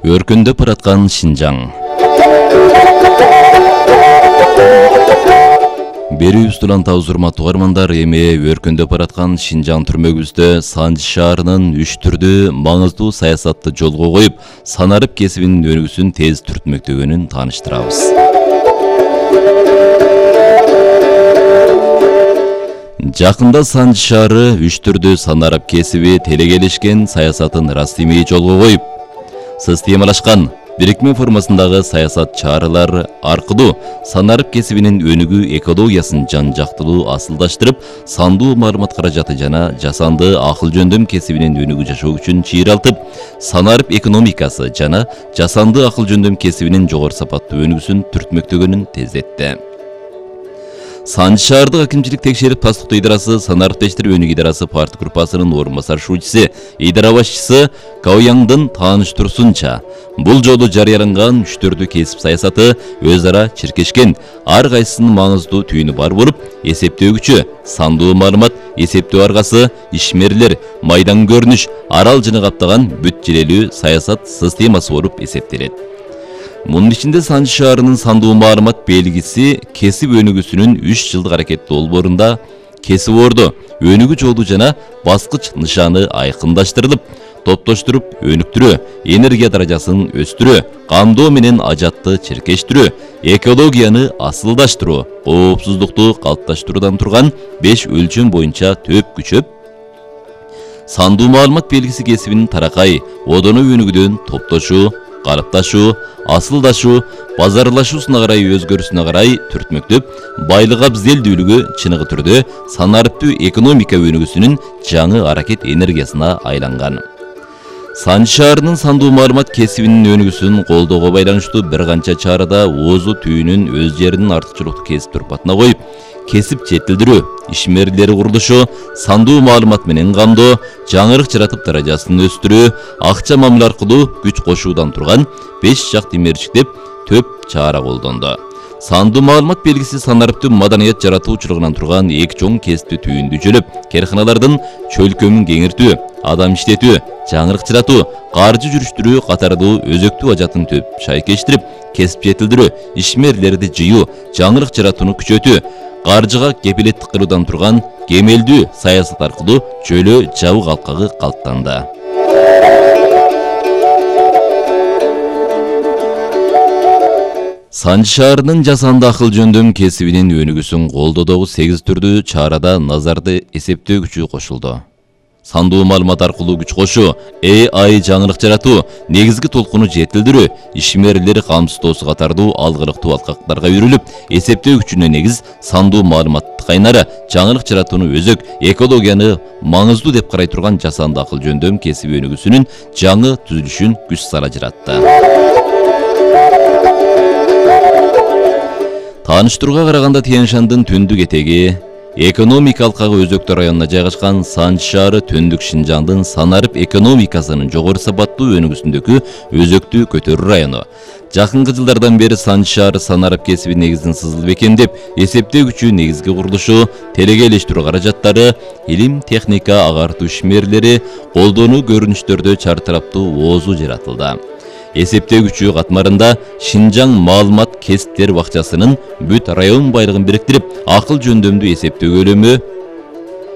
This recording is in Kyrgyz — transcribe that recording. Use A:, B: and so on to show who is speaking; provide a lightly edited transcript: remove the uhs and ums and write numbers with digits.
A: Өркүндөп бараткан Шинжаң. Берүүбүздүн антабыз урматтуу угармандар, эми өркүндөп бараткан Шинжаң түрмөгүбүздө Санжы шаарынын 3 түрдүү маңыздуу саясатты жолго коюп, санарып кесибинин өнүгүүсүн тез түртмөктөгөнүн тааныштырабыз. Жакында Санжы шаары 3 түрдүү санарып кесиби телекелешкен саясатын ырастемий жолго коюп, системалашкан бирикме формасындагы саясат чаралар аркылуу санарып кесибинин өнүгүү экологиясын жан-жактылуу асылдаштырып, сандуу маалымат каражаты жана жасанды акыл жөндөм кесибинин өнүгүү жашоо үчүн чыйралтып, санарып экономикасы жана жасанды акыл жөндөм кесибинин жогору сапаттуу өнүгүүсүн түртмөктөгөнүн тездетти. Санжы шаардык акимчилик текшерип тастыктоо идарасы санариптештер өнүгүү идарасы парт группасынын орун басар шуучусу, идара башчысы Каояңдын тааныштыруусунча, бул жолу жарыяланган 3 түрдүү кесип саясаты өз ара чиркешкен, ар кайсынын маңыздуу түйүнү бар болуп, эсептөөгүчү, сандуу маалымат, эсептөө аргасы, ишмерлер, майдан көрүнүш, арал жыны каптаган бүт желелүү саясат системасы болуп эсептелет. Мунун ичинде Санжы шаарынын сандуу маалымат белгиси кесип өнүгүүсүнүн 3 жылдык аракет долбоорунда кесип орду өнүгүү жолу жана баскыч нышаны айкындаштырылып, топтоштуруп өнүктүрүү, энергия даражасын өстүрүү, камдоо менен ажатты чиркештирүү, экологияны асылдаштыруу, коопсуздукту калыпташтыруудан турган 5 өлчөм боюнча төп күчөп, сандуу маалымат белгиси кесибинин таракай, одоно өнүгүүдөн топтошуу, калыпташуу, асылдашуу, базарлашуусуна карай өзгөрүүсүнө карай түртмөктөп, байлык абзелдүүлүгү чыныгы түрдө санарыптуу экономика өнүгүүсүнүн жаңы аракет энергиясына айланган. Санжы шаарынын сандуу маалымат кесибинин өнүгүүсүн колдоого байланыштуу бир канча чарада оозу түйүнүн өз жеринин артыкчылыктуу кесип турпатына коюп, кесип жетилдирүү, ишмерлери курулушу, сандуу маалымат менен камдоо, жаңырык жаратып даражасын өстүрүү, акча мамиле аркылуу күч кошуудан турган 5 жакты мерчиктеп төп чара колдондо. Сандуу маалымат белгиси санарыптуу маданият жаратуу учурунан турган эки чоң кесипти түйүндү жөлөп, карканалардын чөлкөмүн кеңиртүү, адам иштетүү, жаңырык жаратуу, каржы жүрүштүрүү катардуу өзөктүү ажатын төп шайкештирип, кесип жетилдирүү, ишмерлерди жыйуу, жаңырык жаратууну күчөтүү, каржыга кепилеттик кылуудан турган кемелдүү саясат аркылуу жөлөө жабык алкагы калыптанды. Санжы шаарынын жасанды акыл жөндөм кесибинин өнүгүүсүн колдоодогу 8 түрдүү чарада назарды эсептөө күчү кошулду. Сандуу маалымат аркылуу күч кошуу, AI жаңырык жаратуу, негизги толкуну жетилдирүү, ишмерлер камсыздоосу катардуу алгылыктуу алкактарга үйрүлүп, эсептөө күчүнө негиз сандуу маалыматты кайнары, жаңырык жаратууну өзөк, экологияны маңыздуу деп карай турган жасанды акыл жөндөм кесиби өнүгүүсүнүн жаңы түзүлүшүн күч сала жаратты. Тааныштырууга караганда Тянь-Шандын түндүк этеги, экономика алкагы өзөктүү районуна жайгашкан Санжы шаары түндүк Шинжаңдын санарып экономикасынын жогору сапаттуу өнүгүүсүндөгү өзөктүү көтөрүү району. Жакынкы жылдардан бери Санжы шаары санарып кесиби негизин сызылып бекемдеп, эсептөө күчү негизги курулушу, телекелештирүү каражаттары, илим, техника, агартуу ишмерлери, колдонуу көрүнүштөрдө чартараптуу оозу жаратылды. Эсептөө күчү катмарында Шинжаң маалымат кесиптер бакчасынын бүт район байлыгын бириктирип, акыл жөндөмдүү эсептөө көлөмү